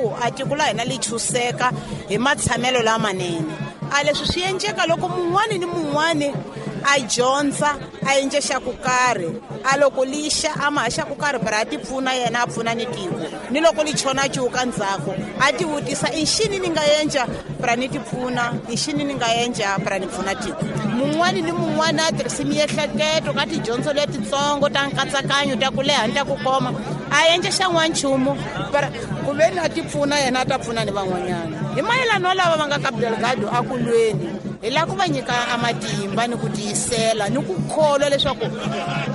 ku a tiko la hina li chuseka hi matshamelo lamanene. A leswi swi endleka loko mun'wani ni mun'wani a dyondza a endle xa ku karhi, a loko lixa a ma xa ku karhi para a ti pfuna yena a pfuna ni tiko, ni loko li chona cuka ndzhaku a ti vutisa i xini ni nga endla para ni ti pfuna, i xini ni nga endla para ni pfuna tiko. Mun'wani ni mun'wani a tirhisi miehleketo ka tidyondzo letitsongo ta nkatsakanyo ta ku leha ni ta ku koma, a endle xa n'wanchumu para ku ve ni a ti pfuna yena a ta pfuna ni van'wanyana. Hi mayelana lava va nga ka Delgado a ku lweni, hi lava ku va nyika a matimba ni ku tiyisela ni ku kholwa leswaku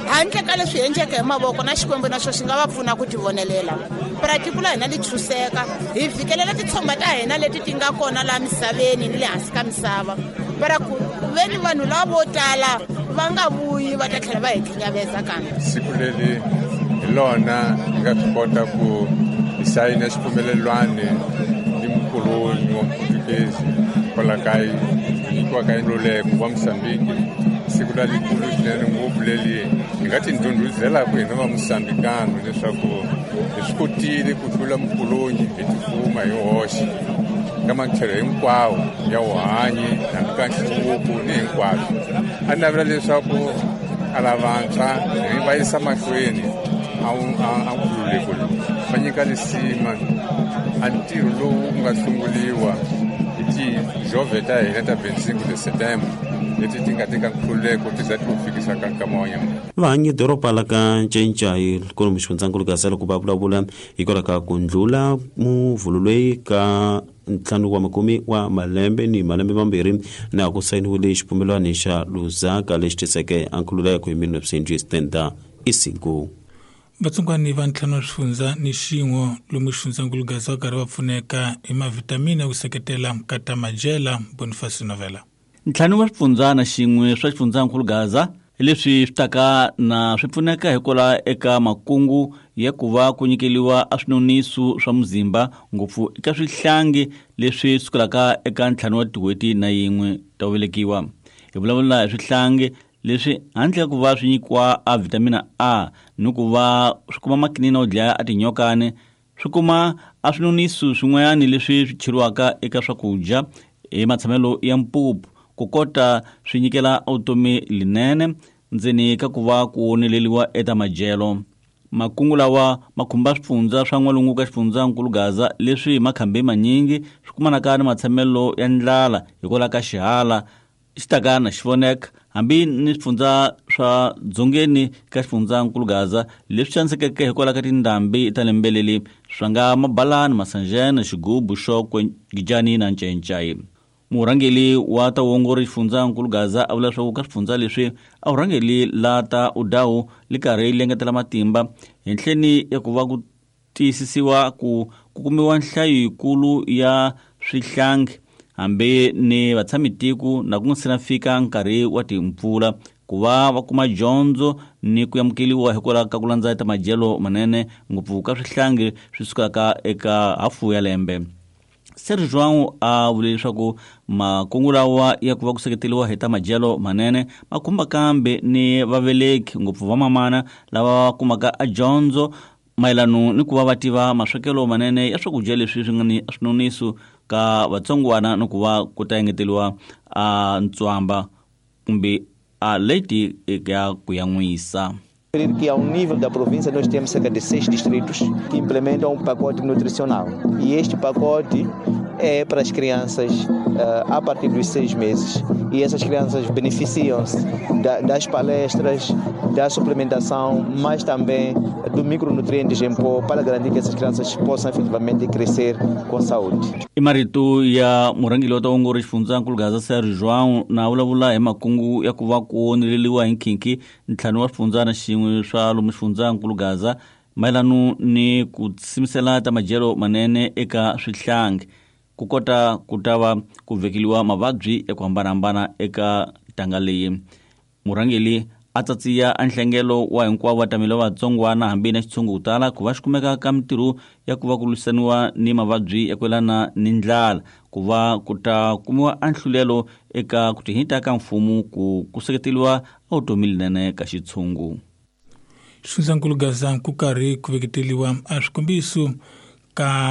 handle ka leswi endleke hi mavoko na Xikwembu na xo xi nga va pfuna ku tivonelela. Para tiko la hina li chuseka, hi fikelela titshomba ta hina leti ti nga kona laha misaveni ni le hansi ka misava. Para ku ve ni vanhu lava vo tala va nga vuyi va ta tlhela va hi khinyaveza kambe. Siku leri hi lona hi nga swi kota ku hi sayina xipfumelelwano ni mukoloni wa Muputukezi kwala ka nyikiwa ka nluleko wa Mozambique. Siku la likulu swinene ngopfu leri hi nga tindhundhuzelaka hina va Mozambikano leswaku hi swi kotile ku hlula mukoloni hi tifuma hi hoxe ka matlhelo hinkwawo ya vuhanyi hambi ka nhluvuko ni hinkwaswo. A navela leswaku a lavantshwa hi va yisa mahlweni a nkululeko lowu, va nyika lisima a ntirho lowu wu nga sunguriwa hi tijove ta hina ta 25 de setembro leti ti nga teka nkhululeko ti za ti wu fikisa ka nkama wa nyama. Vahanyi doroba la ka Ncencai kwalomu xifundzankulu Gaza loko va vulavula hikwalaho ka ku ndlula muvhulu loyi ka 50 wa malembe ni malembe mambirhi na ku sayiniwile xipfumelwano xa Lusaka lexi tiseke a nkhululeko hi 1975. Vatsongwani va 5 wa swifundza ni xin'we lomu xifundzankulu Gaza va karhi va pfuneka hi mavhitamini ya ku seketela ka majela. Boniface Novela. 5 wa swifundza na xin'we swa xifundzankulu Gaza hi leswi swi taka na swi pfuneka hikwalaho eka makungu ya ku va ku nyikeliwa a swinoniso swa muzimba ngopfu eka swihlangi leswi sukelaka eka 5 wa tin'hweti na yin'we ta ku velekiwa. Hi vulavula hi swihlangi leswi handle ka ku va swi nyikiwa a vitamina A ni ku va swi kuma makinina yo dlaya a tinyokani, swi kuma a swinoniso swin'wanyana leswi swi cheriwaka eka swakudya hi matshamelo ya mpupu ku kota swi nyikela vutomi linene ndzeni ka ku va ku oneleriwa eka madyelo. Makungu lawa ma khumba swifundza swa n'walungu ka xifundzankulu Gaza leswi hi makhambi manyingi swi kumanaka ni matshamelo ya ndlala hikwalaho ka xihala xi taka na xi voneka hambi ni swifundza swa dzongeni ka xifundzankulu Gaza leswi xanisekeke hikwalaho ka tindhambi ta lembe leri swa nga Mabalani, Masanjana, Xigubu, Xokwe, Gijani na Ncencai. Murhangeri wa ta vuongori xifundzankulu Gaza a vula leswaku ka swifundza leswi a vurhangeri la ta Udawu li karhi li engetela matimba henhleni ya ku va ku tiyisisiwa ku ku kumiwa nhlayo yikulu ya swihlangi hambi ni vatshamitiko na ku nga se na fika nkarhi wa timpfula ku va va kuma dyondzo ni ku amukeriwa hikwalaho ka ku landza ta madyelo manene ngopfu ka swihlangi swi sukaka eka hafu ya lembe. Serge João a vule leswaku makungu lawa ya ku va ku seketeriwa hi ta madyelo manene ma khumba kambe ni vaveleki ngopfu vamamana lava va kumaka a dyondzo mayelano ni ku va va tiva maswekelo manene ya swakudya leswi swi nga ni swinoniso ka vatsongwana ni ku va ku ta engeteriwa a ntswamba kumbe a leti ya ku yan'wisa. Que ao nível da província nós temos cerca de 6 distritos que implementam um pacote nutricional. E este pacote é para as crianças a partir dos 6 meses. E essas crianças beneficiam-se das palestras, da suplementação, mas também do micronutrientes em pó para garantir que essas crianças possam efetivamente crescer com saúde. I marito ya murhangeri wa vaongori xifundzankulu Gaza Serge João na vulavula hi makungu ya ku va ku oneleriwa hi nkhinkhi 5 wa swifundza na xin'we swa lomu xifundzankulu Gaza mayelano ni ku simisela ta madyelo manene eka swihlangi ku kota ku ta va ku vekeliwa mavabyi ya ku hambanahambana eka ntanga leyi. Murhangeri a tsatsiya a nhlengelo wa hinkwavo vatameli va vatsongwana hambi na xitshungu ku tala ku va xi kumeka ka mitirho ya ku va ku lwisaniwa ni mavabyi ya ku yelana ni ndlala ku va ku ta kumiwa a nhlulelo eka ku tihita ka mfumo ku seketeriwa a vutomi linene ka xitshungu. Xifundzankulu Gaza ku karhi ku veketeliwa a swikombiso ka